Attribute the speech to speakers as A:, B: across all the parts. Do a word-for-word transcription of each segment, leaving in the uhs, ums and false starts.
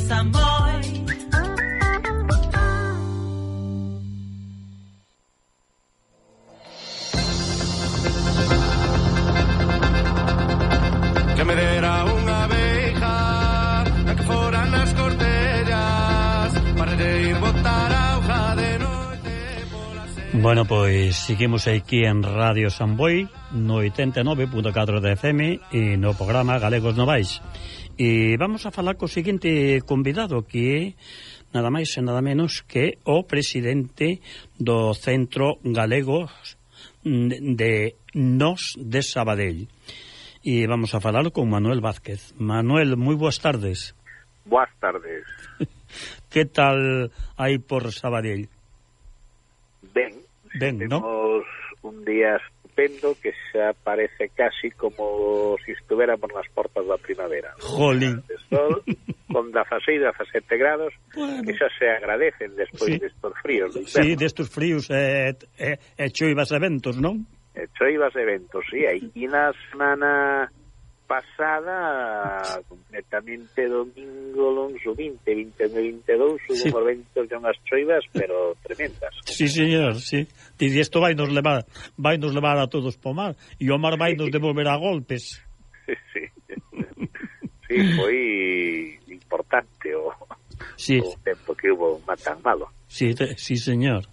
A: Samboy.
B: Que me dera unha abeja a que foran nas cortellas para ir botar auga de noite pola se...
C: Bueno, pois seguimos aquí en Radio Samboy no oitenta e nove punto catro de F M e no programa Galegos Novais. E vamos a falar co seguinte convidado, que é nada máis e nada menos que o presidente do Centro Galego de Nós de Sabadell. E vamos a falar con Manuel Vázquez. Manuel, moi boas tardes.
D: Boas tardes.
C: Que tal aí por Sabadell?
D: Ben,
C: ben,
D: temos
C: ¿no?
D: un día estupendo que xa parece casi como si estuviéramos nas portas da primavera.
C: Jolín.
D: De sol, con dezaseis, dezasete grados,
C: bueno,
D: que xa se agradecen despois
C: sí.
D: destos fríos.
C: Sí, destos fríos e, e, e choivas e ventos, non?
D: E choivas e ventos, sí. Aí na semana pasada, completamente domingo, longo, vinte, vinte e vinte e dous,
C: sí.
D: hubo ventos e unhas choivas, pero tremendas.
C: Sí, señor, sí. E isto vai nos levar, vai nos levar a todos po mar, e o mar vai nos devolver a golpes.
D: Sí, sí. Sí, foi importante o,
C: sí.
D: o tempo que hubo tan malo.
C: Sí, te, sí, señor.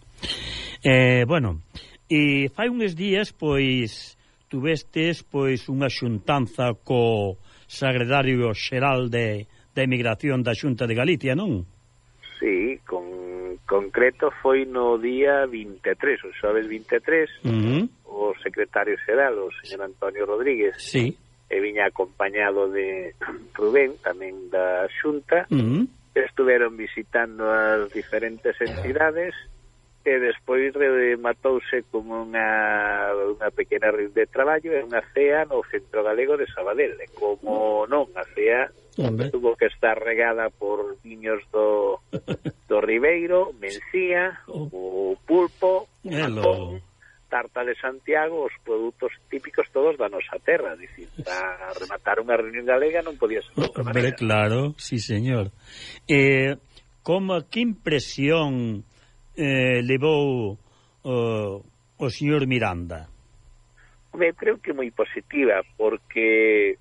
C: Eh, bueno, e fai uns días, pois, tuvestes, pois, unha xuntanza co Secretario Xeral de, de Emigración da Xunta de Galicia, non?
D: Sí, con concreto foi no día vinte e tres, o xoves vinte e tres,
C: uh-huh.
D: o secretario xeral, o señor Antonio Rodríguez,
C: sí.
D: e viña acompañado de Rubén, tamén da Xunta,
C: uh-huh.
D: estuveron visitando as diferentes entidades, e despois rematouse como unha, unha pequena reunión de traballo e unha cea no Centro Galego de Sabadell. E como non, a cea
C: Hombre.
D: tuvo que estar regada por viños do, do Ribeiro, Mencía, o pulpo, o Japón, tarta de Santiago, os produtos típicos todos da nosa terra. Dicir, para rematar unha reunión galega non podía ser de outra maneira.
C: Claro, sí, señor. Eh, como, que impresión Eh, levou uh, o señor Miranda?
D: Me creo que moi positiva, porque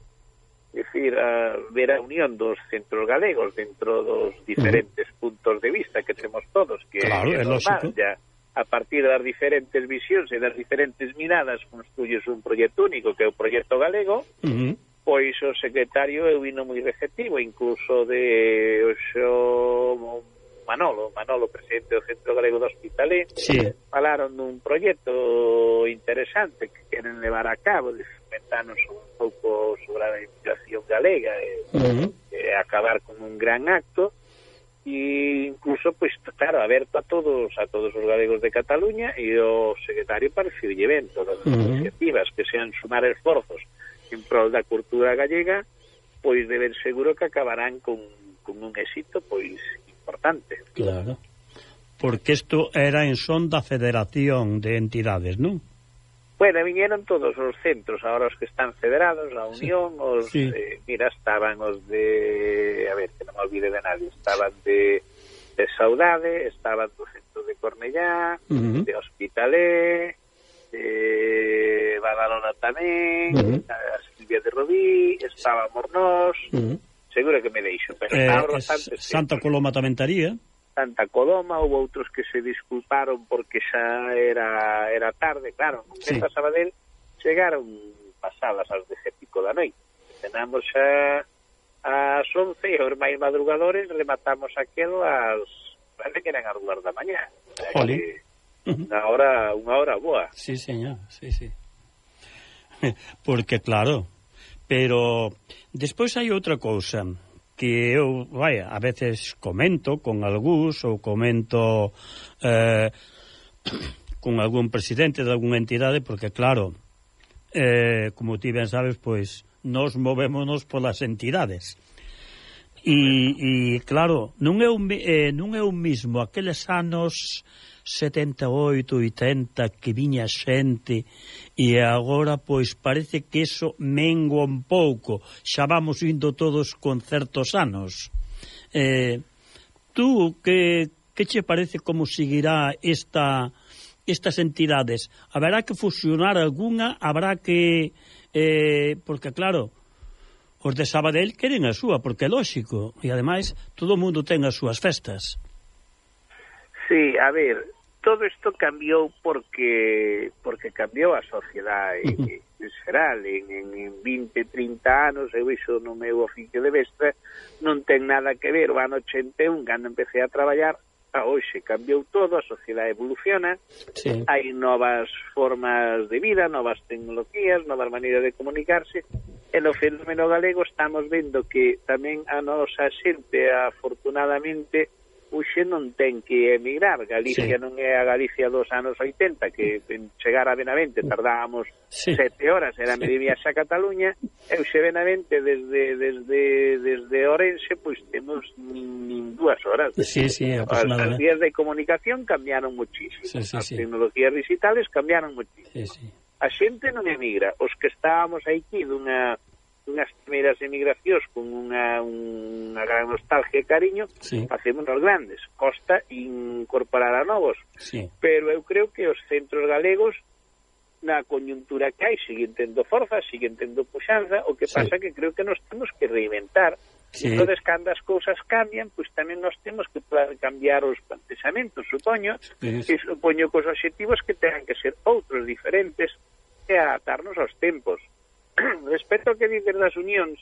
D: decir, a ver a unión dos centros galegos dentro dos diferentes uh-huh. puntos de vista que temos todos, que
C: claro,
D: é normal, ya a partir das diferentes visións e das diferentes miradas construyes un proxecto único que é o proxecto galego.
C: Uh-huh.
D: Pois o secretario é vino moi receptivo, incluso de o xo Manolo, Manolo, presidente do Centro Galego do Hospitalet,
C: sí.
D: falaron dun proxecto interesante que queren levar a cabo, de comentarnos un pouco sobre a imigración galega e, uh-huh. e acabar con un gran acto, e incluso, pois, claro, aberto a todos a todos os galegos de Cataluña, e o secretario pareceu ben todas as uh-huh. iniciativas que sean sumar esforzos en prol da cultura gallega, pois deben seguro que acabarán con, con un éxito, pois, importante.
C: Claro, porque isto era en son da Federación de Entidades, non?
D: Bueno, vinieron todos os centros, ahora os que están federados, a Unión, sí. os,
C: sí.
D: eh, mira, estaban os de, a ver, que non me olvide de nadie, estaban de, de Saudade, estaban do centro de Cornellá, uh-huh. de Hospitalet, de Badalona tamén, uh-huh. a Silvia de Rodí, estaba Mornós, uh-huh. seguro que me deixo, pero
C: eh,
D: bastante
C: Santa sempre. Coloma tamén taría.
D: Santa Coloma, houve outros que se disculparon porque xa era era tarde, claro, non sí. a Sabadell chegaron pasadas as dez e pico da noite. Tenamos xa ás once e os máis madrugadores rematamos aquelo ás, parece que eran as dúas da mañá.
C: Jolín.
D: Unha hora, unha hora boa.
C: Sí, señor, sí, sí. Porque claro, pero despois hai outra cousa que eu, vai, a veces comento con algúns ou comento eh, con algún presidente de algunha entidade, porque claro, eh, como ti ben sabes, pois nos movémonos polas entidades. E, e claro, non é, un, eh, non é o mismo aqueles anos setenta e oito, oitenta que viña xente e agora pois parece que eso mengua un pouco, xa vamos indo todos con certos anos Eh, tú, que, que che parece como seguirá esta, estas entidades? Haberá que fusionar alguna? Habrá que... Eh, porque, claro, os de Sabadell queren a súa, porque é lógico, e ademais todo o mundo ten as súas festas.
D: Sí, a ver, todo isto cambiou porque porque cambiou a sociedade uh-huh. en xeral. En, en, en vinte, trinta anos, eu iso no meu oficio de mestre, non ten nada que ver. O ano ochenta e un, cando empecé a traballar, a hoxe cambiou todo, a sociedade evoluciona, sí. Hai novas formas de vida, novas tecnologías, novas maneiras de comunicarse, e no fenómeno galego estamos vendo que tamén a nosa xente, afortunadamente, hoxe non ten que emigrar. Galicia sí. non é a Galicia dos anos oitenta, que en chegar a Benavente tardábamos sí. sete horas, era sí. medio viaxe a Cataluña, e hoxe Benavente desde desde desde Orense, pois temos nin dúas horas.
C: Sí, sí,
D: as vías de comunicación cambiaron muchísimo, sí, sí, as sí. tecnologías digitales cambiaron muchísimo. Sí, sí. A xente non emigra, os que estábamos aquí dunha unhas primeiras emigracións con unha, unha gran nostalgia e cariño, sí. facemos os grandes, costa incorporar a novos, sí. pero eu creo que os centros galegos na coyuntura que hai siguen tendo forza, siguen tendo puxanza, o que sí. pasa que creo que nos temos que reinventar. Sí. Entonces, cando as cousas cambian, pois tamén nos temos que cambiar os plantexamentos, supoño, sí. e supoño que os obxectivos que tengan que ser outros diferentes e adaptarnos aos tempos. Respecto ao que dicen das unións,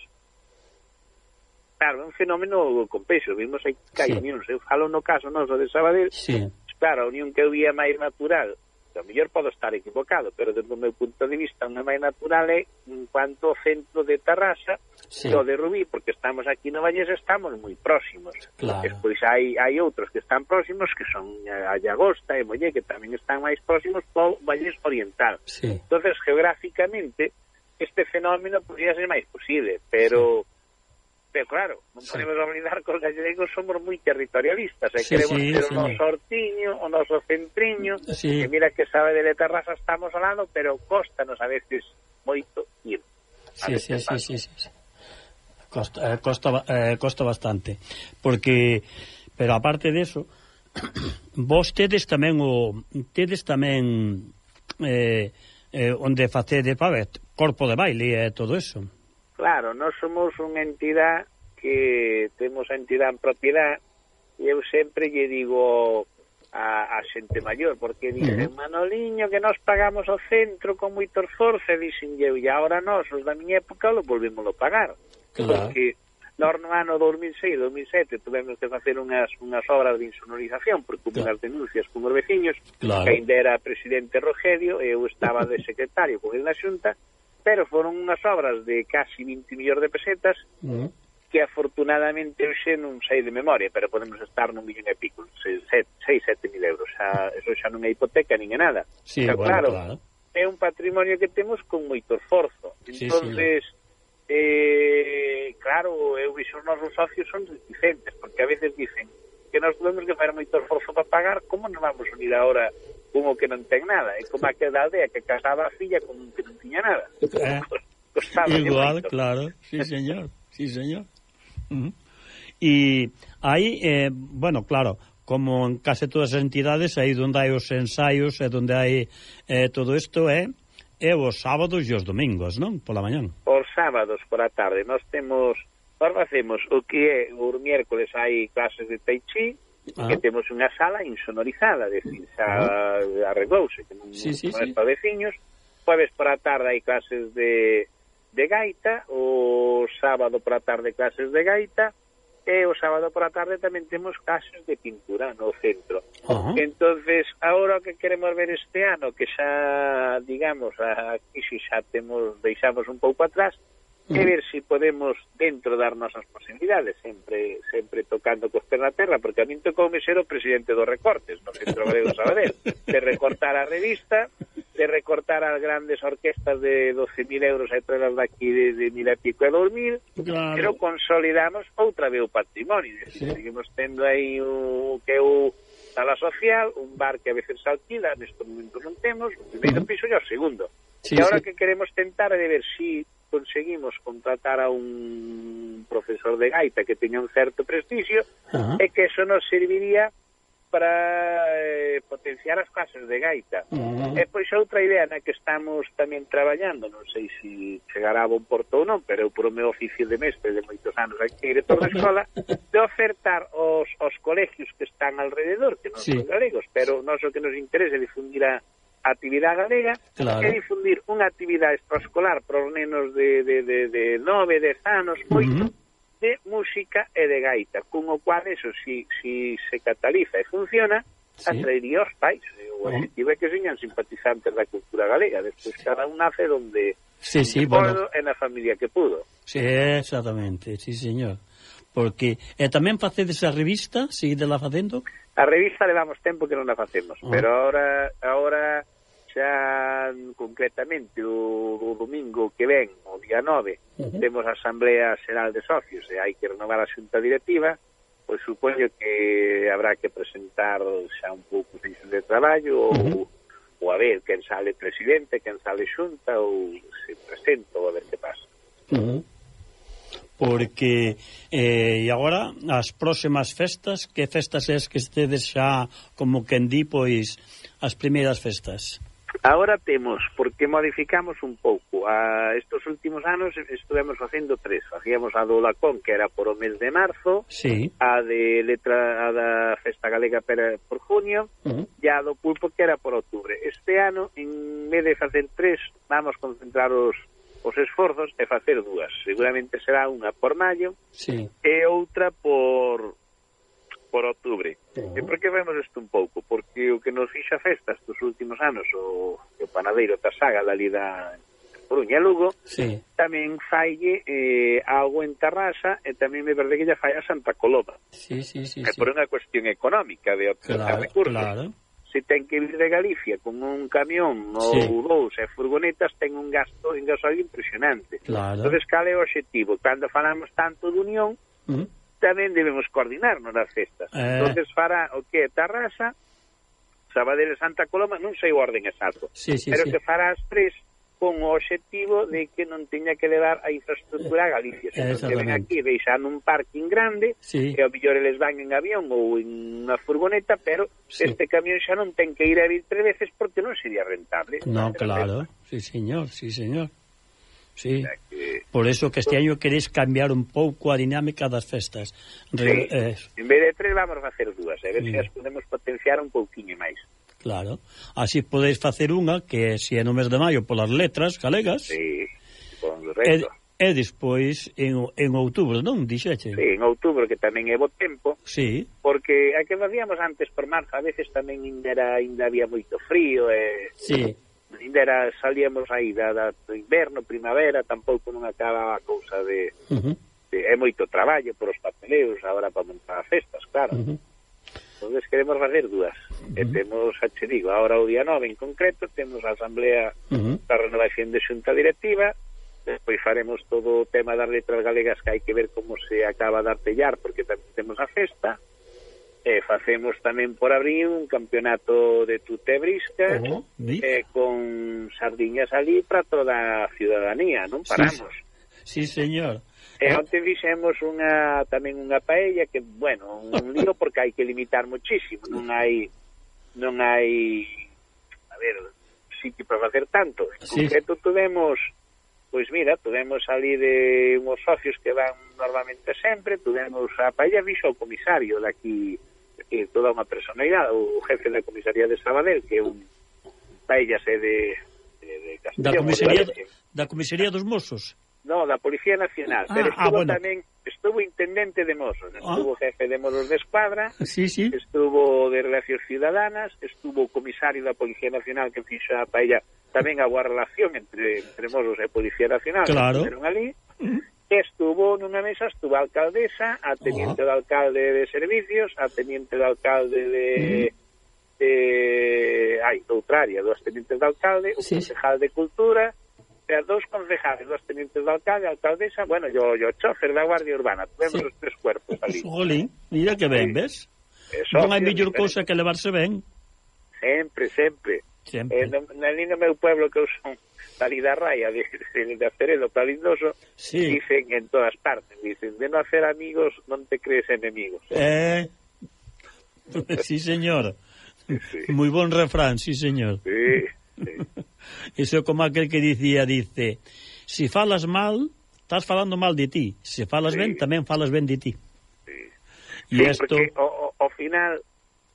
D: claro, é un fenómeno complexo, vimos aí que hai sí. unións, eu falo no caso noso de Sabadell, sí. claro, a unión que eu vía máis natural, a mellor podo estar equivocado, pero desde o meu punto de vista unha máis natural é en cuanto ao centro de Tarrasa sí. o de Rubí, porque estamos aquí no Vallés, estamos moi próximos. Claro. Despois hai, hai outros que están próximos, que son a Llagosta e Mollé, que tamén están máis próximos ao Vallés Oriental. Sí. Entonces, geográficamente, este fenómeno podría ser máis posible, pero sí. pero claro, non sí. podemos olvidar que os gallegos somos moi territorialistas, e sí, queremos sí, ter o noso hortiño, o noso centriño, sí. que mira que sabe de Terrassa estamos falando, pero costanos a veces moito ir.
C: Sí, sí, sí, sí, sí, sí. Costa, eh, costa, eh, costa bastante, porque, pero aparte de eso, vos tedes tamén o tedes tamén eh, eh, onde facede pavet corpo de baile e todo eso.
D: Claro, nós somos unha entidade que temos a entidade en propiedade, e eu sempre lle digo a, a xente maior, porque dicen, uh-huh. Manoliño, que nós pagamos o centro con moito esforzo, e dicen eu, e agora nós, os da miña época, lo volvemos a pagar. Claro. Porque nós no ano dos mil seis, dos mil sete tuvemos que facer unhas, unhas obras de insonorización, porque hubo claro. unhas denuncias con os veciños, claro. que ainda era presidente Rogelio, e eu estaba de secretario con el na xunta, pero foron unhas obras de casi vinte millóns de pesetas, uh-huh. que afortunadamente hoxe non sei de memoria, pero podemos estar nun millón e pico, seis, sete mil euros, xa, eso xa non é hipoteca nin é nada.
C: Sí, pero, bueno, claro, claro,
D: é un patrimonio que temos con moito esforzo. Entonces, sí, sí. Eh, claro, eu vixo os nosos socios son reticentes, porque a veces dicen que nós temos que fazer moito esforzo para pagar, como nos vamos unir ahora como que non ten nada, é como aquela aldea que casaba a filla con que non tiña nada.
C: Eh, igual, claro, sí señor, sí señor. Uh-huh. E aí, eh, bueno, claro, como en case todas as entidades, aí onde hai os ensaios e onde hai eh, todo isto é é os sábados e os domingos, non? Pola mañán.
D: Os sábados por a tarde, nós temos, nós facemos o que é, o miércoles hai clases de Tai Chi, ah. que temos unha sala insonorizada, de decir, xa ah. arreglouse, que non, sí, sí, non é sí. para veciños. Jueves por a tarde hai clases de, de gaita, o sábado por a tarde clases de gaita, e o sábado por a tarde tamén temos clases de pintura no centro. Uh-huh. Entonces, agora que queremos ver este ano, que xa, digamos, aquí si xa temos, deixamos un pouco atrás, e ver se si podemos dentro dar nosas posibilidades, sempre sempre tocando cos pés na terra, porque a min tocou me ser o presidente dos recortes no Centro Galego Sabadell, de recortar a revista, de recortar as grandes orquestas de doce mil euros e traerlas daqui de, de mil e pico e dos mil, claro. Pero consolidamos outra vez o patrimonio, sí. Seguimos tendo aí o que é o sala social, un bar que a veces se alquila, nestes momentos non temos, o primeiro uh-huh. piso e o segundo. Sí, e agora sí. que queremos tentar é de ver se si conseguimos contratar a un profesor de gaita que teña un certo prestixio,
C: uh-huh.
D: e que eso nos serviría para eh, potenciar as clases de gaita.
C: Uh-huh.
D: E pois outra idea na que estamos tamén traballando, non sei se chegará a bon porto ou non, pero eu por o meu oficio de mestre de moitos anos aquí director da escola, de ofertar aos, aos colegios que están alrededor, que non
C: sí.
D: son galegos, pero non o que nos interesa é difundir a actividade galega,
C: claro.
D: e difundir unha actividade extraescolar para os nenos de, de, de, de nove, dez anos, oito, uh-huh. de música e de gaita, con o cual eso, si, si se cataliza e funciona, sí. atraería aos pais. O objetivo é que señan simpatizantes da cultura galega, despois cada un nace donde
C: sí, sí,
D: bueno.
C: bueno.
D: e na familia que pudo.
C: Sí, exactamente, sí, señor. Porque, e tamén facedes a revista, seguidela facendo?
D: A revista levamos tempo que non a facemos, uh-huh. pero ahora, ahora xa concretamente o, o domingo que ven, o día nove, uh-huh. temos a Asamblea Xeral de Socios e hai que renovar a xunta directiva, pois supoño que habrá que presentar xa un pouco de de traballo uh-huh. ou, ou a ver quen sale presidente, quen sale xunta ou se presenta ou a ver que pasa.
C: Uh-huh. Porque eh, e agora as próximas festas, que festas es que estedes xa como quen di, pois as primeiras festas?
D: Agora temos, porque modificamos un pouco. A estes últimos anos estuvemos facendo tres. Facíamos a do Lacón, que era por o mes de marzo,
C: sí.
D: a de letra a da Festa Galega per, por junio, uh-huh. e a do Pulpo, que era por outubro. Este ano, en vez de facer tres, vamos concentrar os os esforzos e facer dúas. Seguramente será unha por maio
C: sí.
D: e outra por por outubro.
C: Uh-huh.
D: E por que vemos isto un pouco? Porque o que nos fixa festa estes últimos anos, o, o panadeiro Tasaga da Lida Coruña e Lugo,
C: sí.
D: tamén falle eh, algo en Tarrasa e tamén me parece que lla fai a Santa Coloma.
C: Sí, sí, sí,
D: é
C: sí.
D: por unha cuestión económica de obtener
C: claro,
D: recursos.
C: Claro.
D: Se ten que vir de Galicia con un camión ou
C: sí.
D: dous e furgonetas, ten un gasto en gasolio impresionante.
C: Claro.
D: Entonces, cal é o objetivo? Cando falamos tanto de unión, uh-huh. tamén debemos coordinarnos nas festas. Eh... Entonces, fará o que é Tarrasa, Sabadell e Santa Coloma, non sei o orden exacto,
C: sí, sí,
D: pero
C: sí.
D: que fará as tres con o objetivo de que non teña que levar a infraestructura a Galicia. Se non ven aquí, deixan un parking grande,
C: sí.
D: e ao mellor eles van en avión ou en unha furgoneta, pero sí. este camión xa non ten que ir a vir tres veces porque non sería rentable.
C: No, claro, sí, señor, sí, señor. Sí,
D: o sea que...
C: por eso que este año queréis cambiar un pouco a dinámica das festas.
D: Re... Sí, eh... en vez de tres vamos a facer dúas, a ver
C: sí.
D: se as podemos potenciar un pouquinho máis.
C: Claro, así podéis facer unha que se é no mes de maio polas letras galegas.
D: Sí, correcto.
C: E, e despois en, en outubro, non? Dixeche?
D: Sí, en outubro, que tamén é bo tempo.
C: Sí.
D: Porque a que facíamos antes por marzo, a veces tamén ainda, era, ainda había moito frío e...
C: Sí.
D: Ainda era, salíamos aí da, da, do inverno, primavera, tampouco non acaba a cousa de,
C: uh-huh.
D: de... É moito traballo por os papeleos, agora para montar as festas, claro.
C: Uh-huh.
D: Entonces queremos facer dúas. Uh-huh. E temos, xa che digo, ahora o día nove en concreto, temos a Asamblea uh-huh. da Renovación de Xunta Directiva, despois faremos todo o tema das letras galegas que hai que ver como se acaba de artellar, porque tamén temos a festa, e facemos tamén por abril un campeonato de tute e brisca, uh-huh. e con sardiñas ali para toda a ciudadanía, non paramos.
C: Sí, sí señor.
D: E onte fixemos unha, tamén unha paella que, bueno, un lío porque hai que limitar muchísimo, non hai non hai a ver, sitio para facer tanto. En sí. concreto tuvemos, pois mira, tuvemos ali de unhos socios que van normalmente sempre, tuvemos a paella fixo o comisario daqui, que é toda unha personalidade, o jefe da comisaría de Sabadell, que é un paella de, de, de Castellón.
C: Da comisaría, da comisaría dos Mossos?
D: No, da Policía Nacional,
C: ah,
D: pero estuvo
C: ah, bueno.
D: tamén, estuvo intendente de Mossos, estuvo
C: ah.
D: jefe de Mossos de Escuadra,
C: sí, sí.
D: estuvo de Relacións Ciudadanas, estuvo comisario da Policía Nacional que fixa a paella, tamén a boa relación entre, entre Mossos e Policía Nacional,
C: claro.
D: que ali, uh-huh. estuvo nunha mesa, estuvo a alcaldesa, a teniente uh-huh. de alcalde de servicios, a teniente de alcalde de... Uh-huh. de ai, doutra área, dos tenientes de alcalde, o sí, concejal de Cultura, e dos concejales, dos tenientes de alcalde, a alcaldesa, bueno, yo, yo chofer da Guardia Urbana, tuvemos sí. os tres cuerpos ali.
C: Jolín, mira que ben, sí. ves?
D: Eso,
C: non hai mellor cousa que levarse ben.
D: Sempre, sempre.
C: Sempre.
D: Eh, no, ali no meu pueblo que eu son dali da raya de, de, de Aceredo para Lindoso,
C: sí.
D: Dicen en todas partes, dicen, de no hacer amigos non te crees enemigos.
C: Eh, sí, señor.
D: Sí.
C: Moi bon refrán, sí, señor.
D: Sí, sí.
C: Iso é como aquel que dicía, dice, si falas mal, estás falando mal de ti. Se falas
D: sí.
C: ben, tamén falas ben de ti.
D: Sí,
C: E
D: sí
C: esto...
D: porque ao, ao final,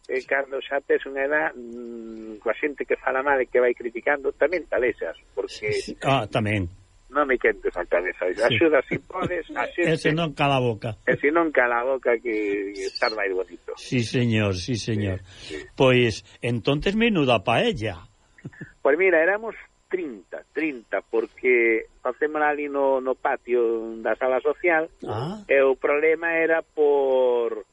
D: eh, cando xa tes unha edad, mmm, coa xente que fala mal e que vai criticando, tamén talexas, porque...
C: Sí, sí. Ah, tamén.
D: Non me quentes a cabeza, axuda si podes, a xente...
C: E se non cala a boca.
D: E se non cala a boca que estar máis bonito.
C: Sí, señor, sí, señor.
D: Sí, sí.
C: Pois, entonces menuda paella.
D: Pois mira, éramos trinta, trinta, porque facemos ali no, no patio da sala social,
C: Ah.
D: e o problema era por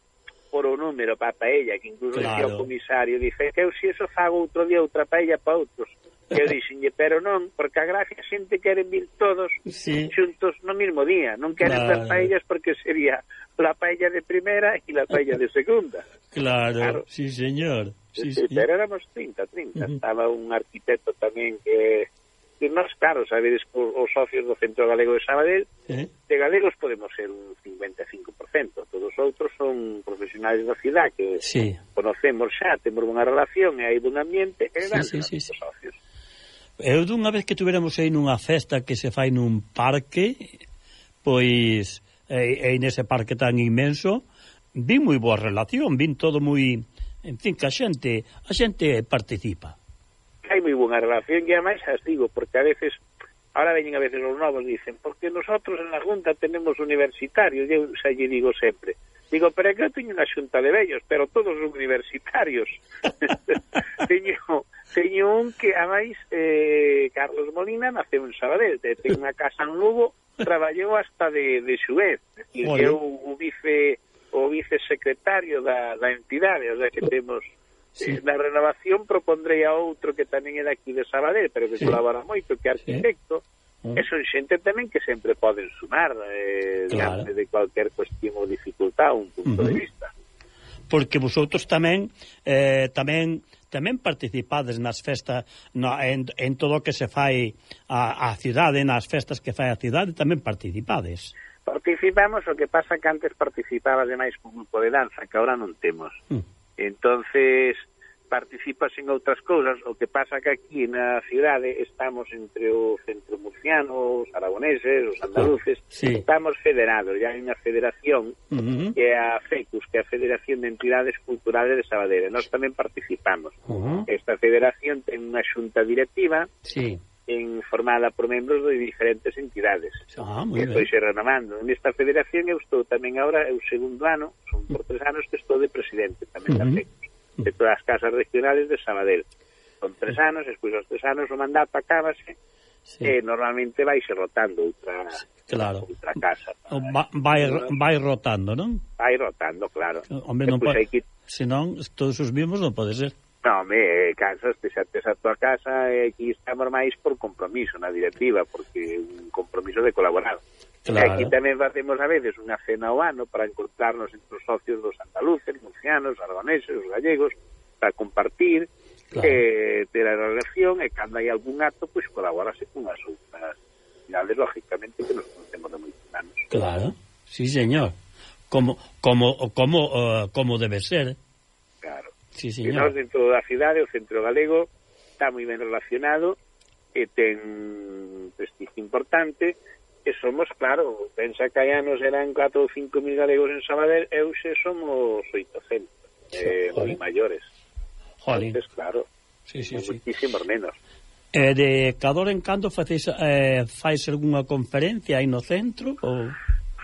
D: por o número para a paella, que incluso
C: Claro.
D: decía o comisario, dice, que eu se eso fago outro día outra paella para outros. E eu dixenlle, pero non, porque a gracia a xente queren vir todos
C: Sí.
D: xuntos no mismo día, non queren
C: Claro.
D: ver paellas porque sería la paella de primera e la paella de segunda.
C: Claro,
D: Claro.
C: sí, señor. Sí,
D: Sí,
C: sí.
D: pero éramos trinta, trinta.
C: Uh-huh.
D: Estaba un arquitecto tamén que... que nós, claro, sabedes que os socios do Centro Galego de Sabadell,
C: ¿Eh?
D: de galegos podemos ser un cincuenta e cinco por cento. Todos os outros son profesionais da cidade que
C: Sí.
D: conocemos xa, temos unha relación e hai un ambiente, e
C: Sí,
D: dan
C: sí, sí,
D: os
C: sí.
D: socios.
C: Eu dunha vez que tuveramos aí nunha festa que se fai nun parque, pois, e, e nese parque tan inmenso, vin moi boa relación, vin todo moi... En fin, que a xente, a xente participa.
D: Hai moi boa relación e ademais as digo, porque a veces, ahora veñen a veces os novos, dicen, porque nosotros en la Junta tenemos universitarios, e eu xa lle digo sempre, digo, pero é que eu teño unha xunta de vellos, pero todos son universitarios. teño, teño un que, ademais, eh, Carlos Molina naceu en Sabadell, ten unha casa en Lugo, traballou hasta de, de xuez, e que eu o vice... o vicesecretario da, da entidade, o sea que temos sí. eh, na renovación propondrei a outro que tamén é daqui de Sabadell, pero que sí. colabora moito, que é arquitecto, sí. e son xente tamén que sempre poden sumar eh, claro. diante de cualquier cuestión ou dificultad, un punto uh-huh. de vista.
C: Porque vosotros tamén eh, tamén tamén participades nas festas, no, en, en todo o que se fai a, a cidade, nas festas que fai a cidade, tamén participades.
D: Participamos, o que pasa que antes participaba ademais con un grupo de danza, que ahora non temos. Mm. Entonces, participas en outras cousas, o que pasa que aquí na cidade estamos entre o centro murciano, os aragoneses, os andaluces, oh, sí. estamos federados, ya hai unha federación uh-huh. que é a FECUS, que é a Federación de Entidades Culturales de Sabadell. Nós tamén participamos. Uh-huh. Esta federación ten unha xunta directiva, sí. en formada por membros de diferentes entidades.
C: Ah,
D: estou xe renovando. Nesta federación eu estou tamén agora, é o segundo ano, son por tres anos que estou de presidente tamén uh-huh. da FECUS, de todas as casas regionales de Sabadell. Son tres anos, despois dos tres anos o mandato acábase, sí. e normalmente vaise rotando outra,
C: claro.
D: outra casa.
C: Va, vai, vai rotando, non?
D: Vai rotando, claro.
C: Hombre, non pode, que... senón, todos os mismos non pode ser.
D: No, me cansas, te xa tes a tua casa e aquí estamos máis por compromiso na directiva, porque un compromiso de colaborar. Claro. E aquí tamén facemos a veces unha cena ao ano para encontrarnos entre os socios dos andaluces, murcianos, aragoneses, os gallegos, para compartir, claro. eh, ter a relación, e cando hai algún acto, pois pues, colaborase con as outras cidades, lógicamente, que nos conocemos de moitos anos.
C: Claro, sí, señor. Como, como, como, uh, como debe ser.
D: Claro.
C: Sí,
D: e nós dentro da cidade, o Centro Galego está moi ben relacionado e ten prestigio importante e somos, claro, pensa que hai anos eran catro ou cinco mil galegos en Sabadell e hoxe somos oitocentos eh, moi maiores.
C: Jolín.
D: Entonces, claro,
C: sí, sí, sí.
D: muchísimos menos.
C: E de cada hora en cando facéis, eh, fais algunha conferencia aí no centro? Ou...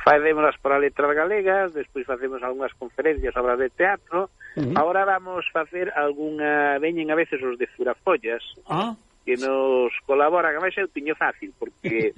D: Facémolas para letras galegas, despois facemos algunhas conferencias, obras de teatro. Uh-huh. Ahora vamos facer algunha... Veñen a veces os de Furafollas,
C: ah.
D: que nos colaboran. A máis eu tiño fácil, porque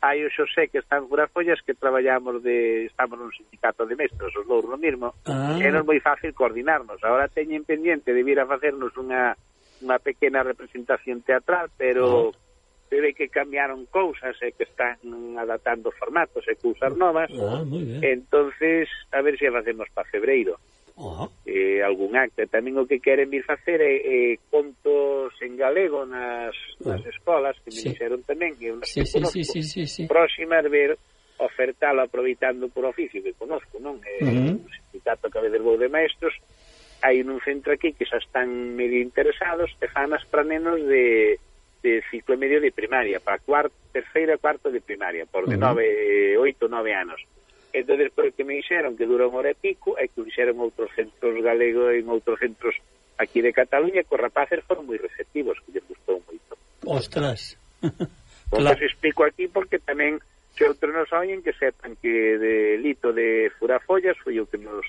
D: hai o Xosé que está en Furafollas, que traballamos de... Estamos nun sindicato de mestres, os dous no mismo, ah. e non é moi fácil coordinarnos. Ahora teñen pendiente de vir a facernos unha, unha pequena representación teatral, pero... Ah. se ve que cambiaron cousas e que están adaptando formatos e cousas novas.
C: Ah, moi ben.
D: Entonces, a ver se facemos para febreiro.
C: Uh-huh.
D: eh, algún acto. Tamén o que queren vir facer é, é contos en galego nas, nas escolas, que me
C: sí.
D: dixeron tamén, que unhas
C: sí,
D: que
C: sí,
D: conozco,
C: sí, sí, sí, sí.
D: próximas ver ofertalo aproveitando por oficio que conozco, non? É uh-huh. un sindicato que a veces vou de maestros, hai un centro aquí que xa están medio interesados e fanas para nenos de, de ciclo medio de primaria, para cuarto, terceira, cuarto de primaria, por de uh-huh. nove, oito, nove anos. Entonces, por que me dixeron que dura unha hora e pico, é que o dixeron outros centros galegos en outros centros aquí de Cataluña, que os rapaces foron moi receptivos, que lles gustou moito.
C: Ostras.
D: Pois claro. Explico aquí porque tamén se outros nos oyen que sepan que de Lito de Furafollas foi o que nos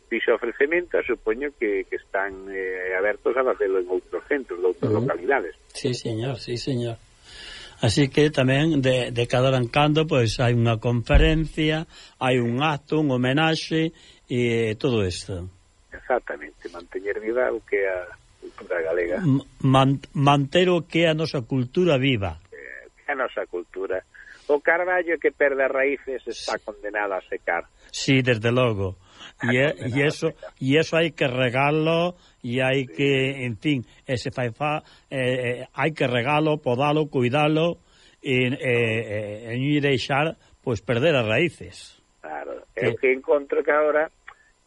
D: fixo ofrecemento, supoño que, que están eh, abertos a facelo en outros centros, de outras uh-huh. localidades.
C: Sí, señor, sí, señor. Así que tamén de, de cada hora en cando pois hai unha conferencia, hai un acto, un homenaxe e todo isto.
D: Exactamente, manteñer viva o que é a cultura galega.
C: Man, manter o que é a nosa cultura viva.
D: Eh, que é a nosa cultura. O carballo que perde as raíces está condenado a secar.
C: Sí, desde logo. E, e eso e eso hai que regalo e hai sí. que, en fin, ese fai fa, eh, hai que regalo, podalo, cuidalo e, e, e, e deixar pois perder as raíces.
D: Claro, é o que encontro que agora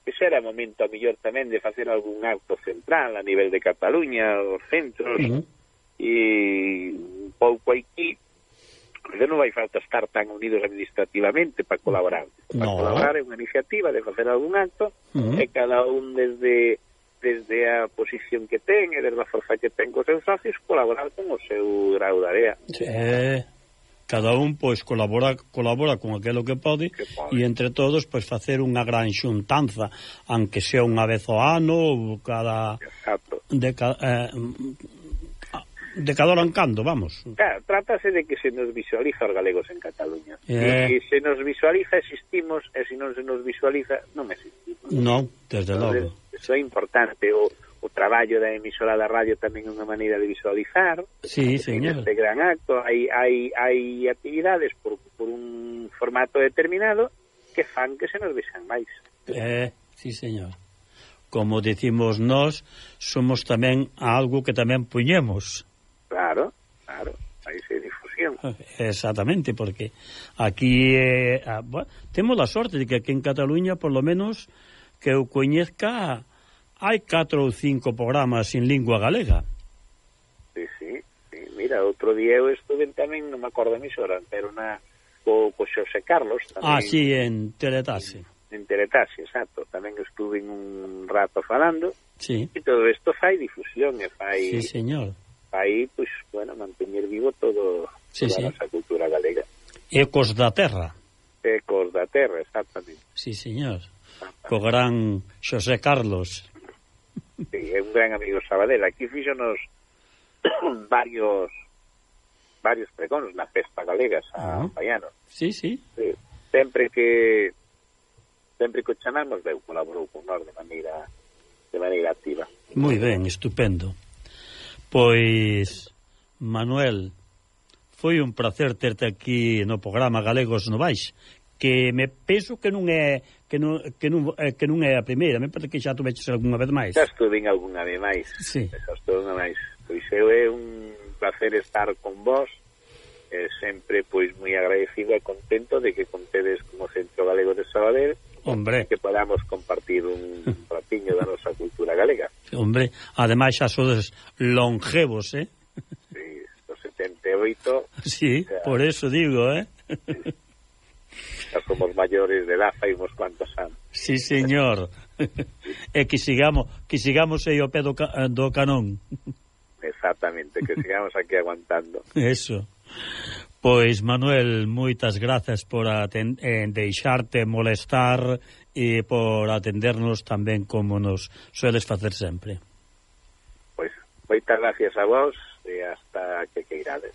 D: que será momento a mellor tamén de facer algún acto central a nivel de Cataluña, os centros uh-huh. e un pouco aquí porque non vai falta estar tan unidos administrativamente para colaborar. Para
C: no.
D: colaborar é unha iniciativa de facer algún acto uh-huh. e cada un desde desde a posición que ten e desde a forza que ten cos seus socios colaborar con o seu grau de área.
C: Sí. Cada un pois colabora colabora con aquilo que pode e entre todos pois facer unha gran xuntanza, aunque sea unha vez ao ano ou cada
D: Exacto.
C: de cada eh, de cada hora en cando, vamos.
D: Claro, trátase de que se nos visualiza os galegos en Cataluña.
C: Eh.
D: E se nos visualiza existimos, e se non se nos visualiza non existimos.
C: Non, desde
D: Entonces,
C: logo.
D: Eso é importante. O, o traballo da emisora da radio tamén é unha maneira de visualizar.
C: Sí, señor.
D: Este gran acto. Hai, hai, hai actividades por, por un formato determinado que fan que se nos vexan máis.
C: Eh, sí, señor. Como decimos nós, somos tamén algo que tamén puñemos.
D: Claro, claro, aí se difusión.
C: Exactamente, porque aquí eh, ah, bueno, temos a sorte de que aquí en Cataluña, por lo menos, que eu coñezca, hai catro ou cinco programas en lingua galega.
D: Sí, sí, sí. Mira, outro día eu estuve tamén, non me acordo a emisora, pero na co, co Xosé Carlos tamén.
C: Ah, sí, en Teletase.
D: En, en Teletase, exacto. Tamén estuve un rato falando.
C: Sí.
D: E todo isto fai difusión e fai...
C: Sí, señor.
D: Aí, pois, bueno, manteñer vivo todo,
C: sí,
D: toda
C: sí.
D: a nosa cultura galega.
C: Ecos da terra.
D: Ecos da terra, exactamente.
C: Sí, señor. Co gran Xosé Carlos.
D: Sí, é un gran amigo Sabadell. Aquí fíxonos varios varios pregóns na festa galega a uh-huh. Paiano.
C: Sí, sí.
D: sí. Sempre que sempre que o chamamos, veu, colaborou con nós de maneira de maneira activa.
C: Moi ben, estupendo. Pois, Manuel, foi un placer terte aquí no programa Galegos Novais, que me penso que non é que non, que non, que non é a primeira, me parece que xa tuveches algunha vez máis.
D: Xa estuve en algunha vez máis.
C: Sí.
D: Xa estuve unha máis. Pois eu é un placer estar con vos, e sempre pois moi agradecido e contento de que contedes como Centro Galego de Sabadell.
C: Hombre,
D: que podamos compartir un ratiño da nosa cultura galega.
C: Hombre, ademais xa sodes longevos, eh?
D: Sí, do setenta e oito.
C: Sí, o sea, por eso digo, eh?
D: Sí. Xa somos maiores de edad, fai uns cuantos anos.
C: Sí, señor. E que sigamos, que sigamos aí ao pé do, ca do canón.
D: Exactamente, que sigamos aquí aguantando.
C: Eso. Pois, Manuel, moitas grazas por aten eh, deixarte molestar e por atendernos tamén como nos sueles facer sempre.
D: Pois, moitas gracias a vos e hasta que queirades.